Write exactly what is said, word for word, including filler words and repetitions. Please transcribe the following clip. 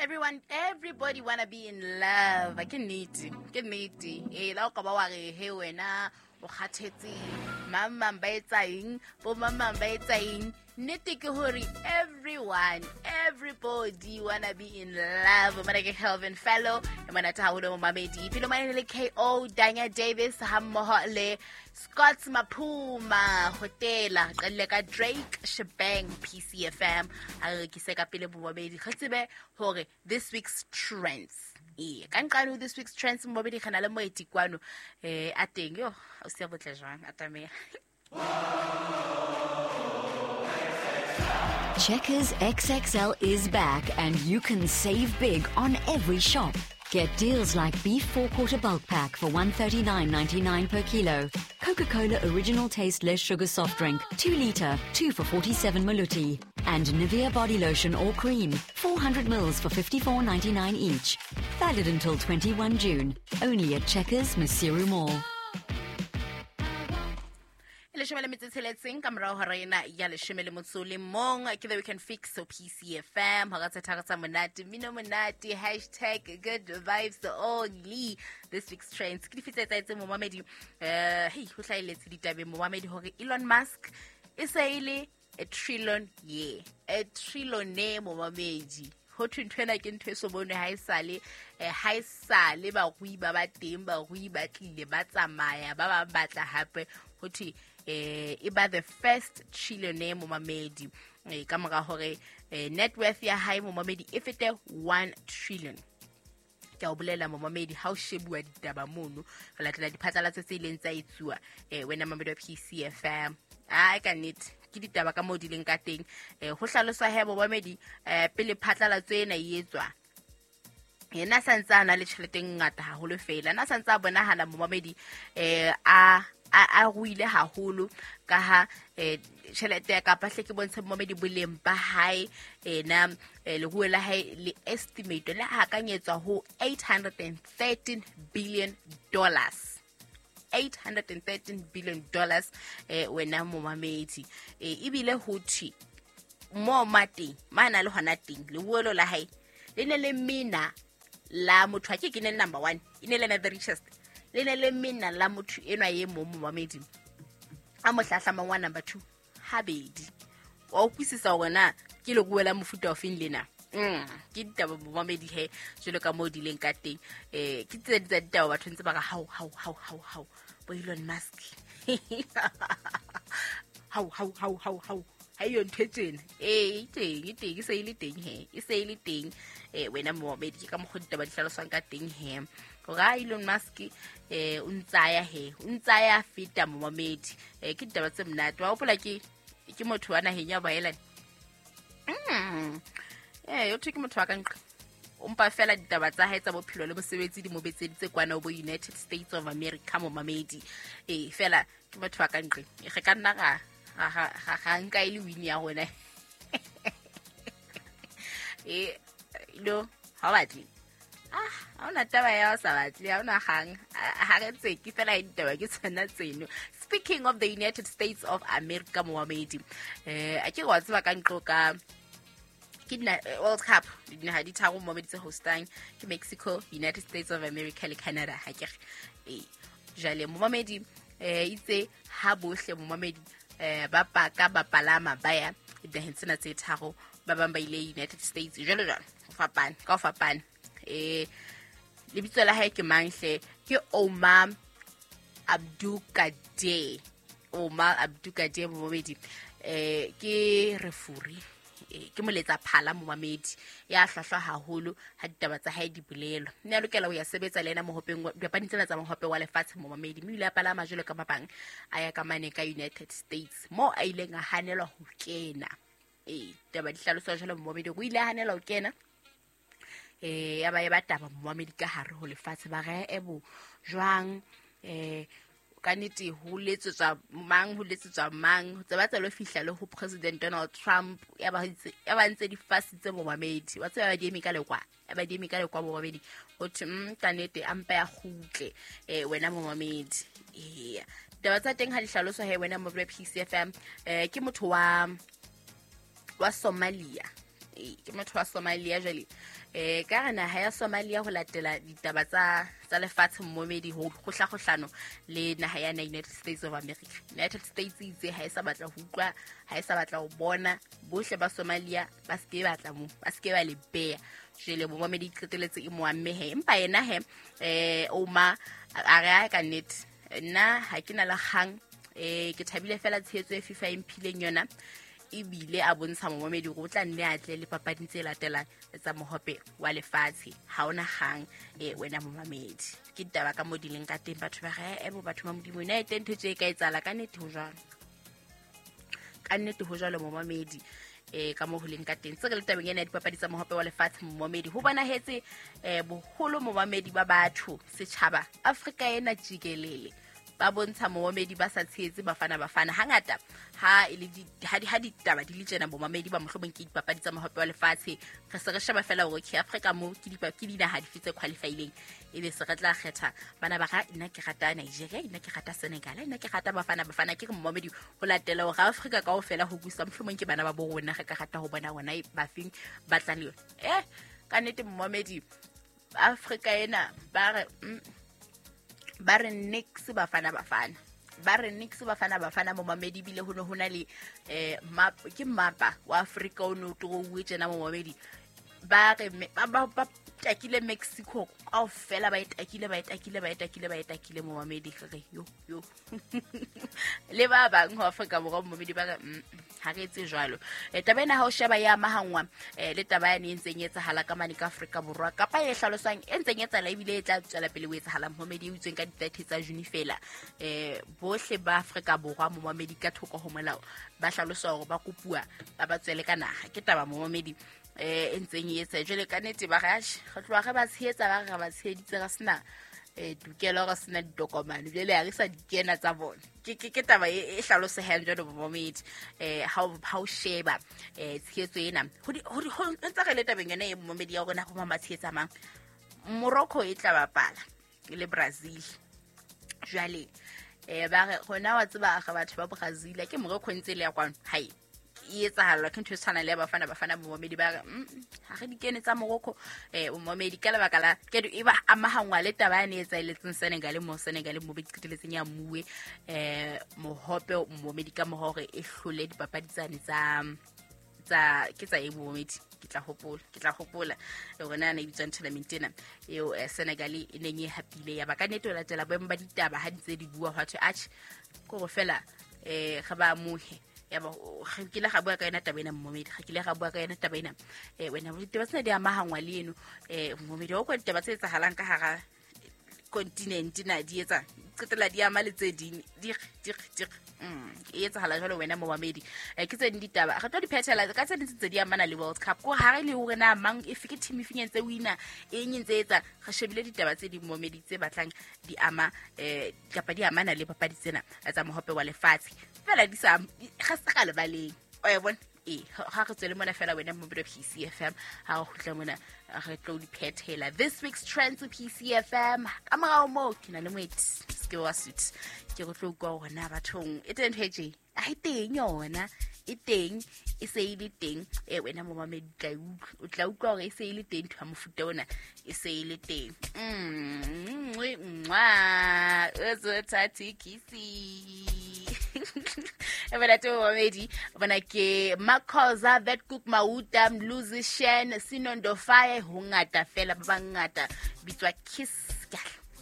Everyone, everybody wanna be in love. Ke nnete, ke nnete. Eh, la o ka ba wa re he wena o kgathetse, mang mang ba etsa eng, bo mang mang ba etsa eng. Nnete ke hore everyone, everybody wanna be in love. Mona ke Kelvin Fellow, e monate haholo momamedi. Pele mane le K O Danya Davis ha mmoho le Scott Maphuma Hotela, qelle ka Drake Shebang P C F M. Ha re rekise ka pele momamedi, re tsebe hore this week's trends. E ka nqane this week's trends momamedi re na le moeti kwano eh a teng yo o se botle jwang atamea. Checkers X X L is back and you can save big on every shop. Get deals like beef four-quarter bulk pack for one thirty-nine ninety-nine per kilo, Coca-Cola original taste less sugar soft drink, two litre, two for forty-seven maluti, and Nivea body lotion or cream, four hundred mils for fifty-four ninety-nine each. Valid until twenty-first June, only at Checkers Maseru Mall. Leshome le metso e tsheletseng ka morao hora ena ya leshome le motso le mong ke The Weekend Fix so P C F M hora tse tharo tsa monate mmino monate hashtag good vibes only. This week's trends ke dife tse etsahetseng momamedi eh hey ho hlahelletse ditabeng momamedi hore Elon Musk e se e le a trillion ye a trillionaire momamedi. Ho thwe ntho ena ke ntho e so bonwe ha e sale ha e sale barui ba ba teng barui ba tlile ba tsamaya ba ba batla hape ho thwe eh e ba the first trillionaire momamedi eh ka mora hore net worth ya hae momamedi e fete one trillion. Ke o bolela momamedi ha o shebuwa ditaba mono re latela diphatlalatso tse ileng tsa etsuwa eh wena mamedi wa P C F M. Ai ka nnete ke ditaba ka moo di leng ka teng eh ho hlaloswa he momamedi eh pele phatlalatso ena e etswa yena sa ntse a na le tjhelete e ngata haholo fela na sa ntse a bonahala momamedi eh a a ruile haholo ka ha tjhelete ya kapa hle ke bontshe momamedi boleng ba hae ena leruo la hae le estimate le hakanyetswa ho eight hundred thirteen billion dollars. eight hundred thirteen billion dollars eh wena momamedi eh ebile ho thwe mo mateng mana le hona teng leruo la hae le ne le mina la motho a ke ke ne number one e ne le na the richest le ne le mina la motho enwa e mong momamedi a mo hlahlamang wa number two habedi wa utlwisisa hore na ke leruo la mofuta o feng lena. Mm ke ditaba momamedi he jwalo ka moo di leng ka teng eh ke tse tsa ditaba batho ntse ba re hao hao hao hao hao bo Elon Musk hao hao hao hao hao ha iyo ntho e tjena eh e teng e teng e se e le teng he e se e le teng eh wena momamedi ke ka mokgwa ditaba di hlaloswang ka teng he hore Elon Musk eh o ntsaya he o ntsaya feta momamedi eh ke ditaba tse monate wa hopola ke ke motho wa naheng ya Baelane mm eh yo ke motho wa ka nqa o mpa fela ditaba tsa hae tsa bophelo le mosebetsi di mo betseditse kwana bo United States of America momamedi eh fela ke motho wa ka nqa re ka nna ga ga ga ga nka ile win ya rona eh lo ha batle ah ha ona taba ya sa batle ha ona gang ha re tseki fela ditaba ke tsona tseno. Speaking of the United States of America momamedi eh a ke wa tseba ka nqo ka ke dina World Cup dinaha di tharo momamedi tse hostang ke Mexico, United States of America le Canada ha ke re eh jale momamedi eh itse ha bohle momamedi eh ba paka ba palama ba ya dinaheng tsena tse tharo ba bang ba ile United States jalo jalo ho fapana ka ho fapana eh lebitso la hae ke mang hle ke Omar Abdulkader Omar Abdulkader momamedi eh ke refuri ke moletsa phala momamedi ya hlwahlwa haholo ha ditaba tsa hae di bolelwa mme a lokela ho ya sebetsa le yena mohopeng dipapading tsena tsa mohope wa lefatshe momamedi mme o ile a palama jwalo ka ba bang a ya ka mane ka United States mo a ileng a hanelwa ho kena eh taba di hlaloswa jwalo momamedi o ile a hanelwa ho kena eh ya ba e ba taba momamedi ka hare ho lefatshe ba re ebo jwang eh ka nnete ho letsetswa mang ho letsetswa mang tse ba tsa lo fihla le ho President Donald Trump ya ba ya ba ntse di fasitse momamedi wa tseba ba di eme ka lekwa ya ba di eme ka lekwa momamedi ho thwe mm ka nnete a mpa ya kgutle eh wena momamedi eh taba tsa teng ha di hlaloswa he wena mo P C F M eh ke motho wa wa Somalia Ke motho wa Somalia jwale. Eh ka re naha ya Somalia ho latela ditaba tsa tsa lefatshe mmomedi ho kgohlakgohlano le naha ya United States of America. United States itse ha e sa batla ho utlwa, ha e sa batla ho bona bohle ba Somalia ba se ke batla mo, ba se ke ba le beya. Jwale momedi qeteletse e mo amme he. Empa yena he eh Omar a re ka nnete nna ha ke na le kgang, eh ke thabile fela tshehetso e FIFA e mphileng yona. Ebile a bontsha momedi hore o tla nne a tle le papading tse latelang tsa mohope wa lefatshe. Ha ona kgang eh wena momamedi. Ke ditaba ka mo di leng ka teng batho ba re e bo batho ba Modimo ena e teng ntho tse ka etsahala ka nnete ho jwalo. Ka nnete ho jwalo momamedi. Eh ka mo ho leng ka teng. Se re le tabeng ena ya dipapadi tsa mohope wa lefatshe momamedi ho bonahetse eh boholo momamedi ba batho setjhaba Afrika ena jikelele ba bontsha momamedi ba sa tshehetse Bafana Bafana. Hangata ha e le di ha di ha ditaba di le tjena bomamedi ba mohlomong ke dipapadi tsa mohope wa lefatshe re se re sheba fela hore ke Afrika mo ke di ke dinaha dife tse qualifyileng ebe se re tla kgetha bana ba ga nna ke rata Nigeria, nna ke rata Senegal, nna ke rata Bafana Bafana. Ke re momamedi ho latela hore Afrika kaofela ho busa mohlomong ke bana ba bo rona re ka rata ho bona bona ba feng ba tla le yona. Eh ka nnete momamedi Afrika ena ba re ba re nix Bafana Bafana, ba re nix Bafana Bafana momamedi. Bile ho no hona le eh map ke mapa wa Afrika o no trouwe tjena momamedi. Ba re ba ba takile Mexico kaofela, ba e takile ba e takile ba e takile ba e takile momamedi. Re yo yo le ba bang ho Afrika Borwa momamedi ba re ha re etse jwalo. Taba ena ha o sheba ya amahangwa le taba ya e ntseng e etsahala ka mane ka Afrika Borwa kapa e hlaloswang e ntseng e etsahala ebile e tla tswela pele ho etsahala momamedi e utsweng ka di-thirty tsa June fela. Eh bohle ba Afrika Borwa momamedi ka thoko ho molao ba hlaloswa hore ba kopuwa ba ba tswele ka naha. Ke taba momamedi eh e ntseng e etsa jwale ka nnete ba re re tloha re ba tshehetsa ba re ba tsheheditse re sena eh tokelo re sena ditokomane jwale ha re sa di kena tsa bona. Ke ke taba e hlalosehang jwalo momamedi. Eh ha ha o sheba eh tshehetso ena ho ho ntse re le tabeng yona e momamedi ya rona ho mama tshehetsa mang. Morocco e tla bapala le Brazil jwale eh ba re rona wa tseba re batho ba Brazil ke Morocco ntse le ya kwano hai e etsahala ke ntho e tshwanang le ya Bafana Bafana momamedi ba re ha re di kene tsa Morocco eh momamedi ka lebaka la ke e ba amahangwa le taba ya ne etsaheletseng Senegal mo Senegal mo be qeteletseng ya muwe eh mohope momamedi ka mohore e hlole dipapadi tsane tsa tsa ke tsa e momamedi. Ke tla hopola ke tla hopola hore na ne bitswang tournament ena eo Senegal e neng e hapile ya ba ka nnete ho latela boemo ba ditaba ha di tse di bua hwa thwe atjhe ko go fela eh ga ba amohe ya ba re kile ga bua ka yona taba ena momedi ga kile ga bua ka yona taba ena eh wena ditaba tsena di amahangwa le eno eh momedi o kwa ditaba tse etsahalang ka hara continent na di etsa qetela di ama le tse ding di di di mm e etsahala jwalo wena momamedi. Ke tse ding ditaba re tlo di phethela ka tse ding tse di amana le World Cup ko ha re le hore na mang e ke team e feng ntse wina e eng ntse etsa re shebile ditaba tse ding momedi tse batlang di ama eh kapa di amana le papadi tsena tsa mohope wa lefatshe fela di sa ga se ga lebaleng o e bona e ha re tswele mona fela wena mo P C F M ha re kgutla mona re tlo di phethela this week's trends P C F M ka morao mo ke na le moeti se wa suit ke re tlo utlwa hore na bathong e teng ntho e tje a e teng yona e teng e se e le teng e wena momamedi tla utlwa o tla utlwa hore e se e le teng ntho ya mofuta ona e se e le teng mm mwa o tsa kisi ebona te momamedi bona ke Makhoza Vetkoek Mauta Mluzi Shen Sinondo Faye ho ngata fela ba bangata bitswa Kiss.